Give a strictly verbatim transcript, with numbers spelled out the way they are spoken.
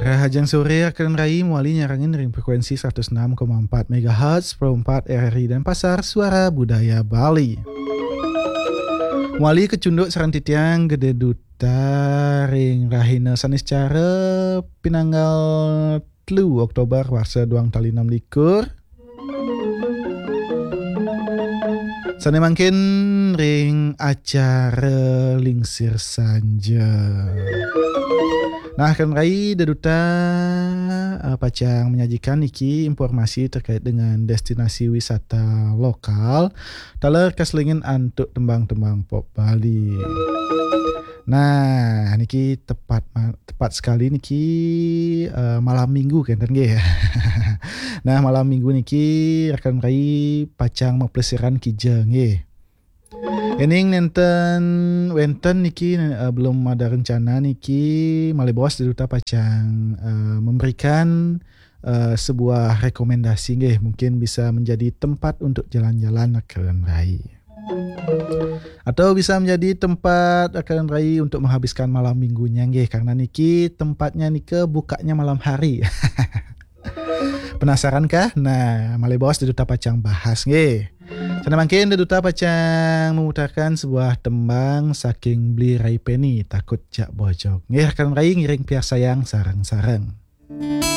Rahajeng sore, rakan rai, mawali nyarengin ring frekuensi seratus enam koma empat megahertz, Pro empat R R I Denpasar, Suara Budaya Bali. Mawali kacunduk sareng titiang Gede Duta ring rahina Saniscara, pinanggal telu Oktober warsa duang tali enam likur. Sane mangkin ring acara Lingsir Sanja. Nah, rakan rai, Gede Duta, eh, pacang menyajikan niki informasi terkait dengan destinasi wisata lokal taler kaselingin antuk tembang-tembang pop Bali. Nah, niki tepat ma-, tepat sekali niki, eh, malam minggu kenten nggih. Nah, malam minggu niki rakan rai pacang maplesiran kija nggih. Ening nenten, wenten niki, eh, belum ada rencana niki, malih bos Gede Duta pacang, eh, memberikan, eh, sebuah rekomendasi nggih, mungkin bisa menjadi tempat untuk jalan-jalan rakan rai. Atau bisa menjadi tempat rakan rai untuk menghabiskan malam minggunya nggih, karena niki tempatnya nika bukanya malam hari. Penasaran kah? Nah, malih bos Gede Duta pacang bahas nggih. Sane mangkin Gede Duta pacang memutarkan sebuah tembang saking Bli Rai Peni, Takut Jak Bojog. Nggih, rakan rai, ngiring piarsayang sareng-sareng.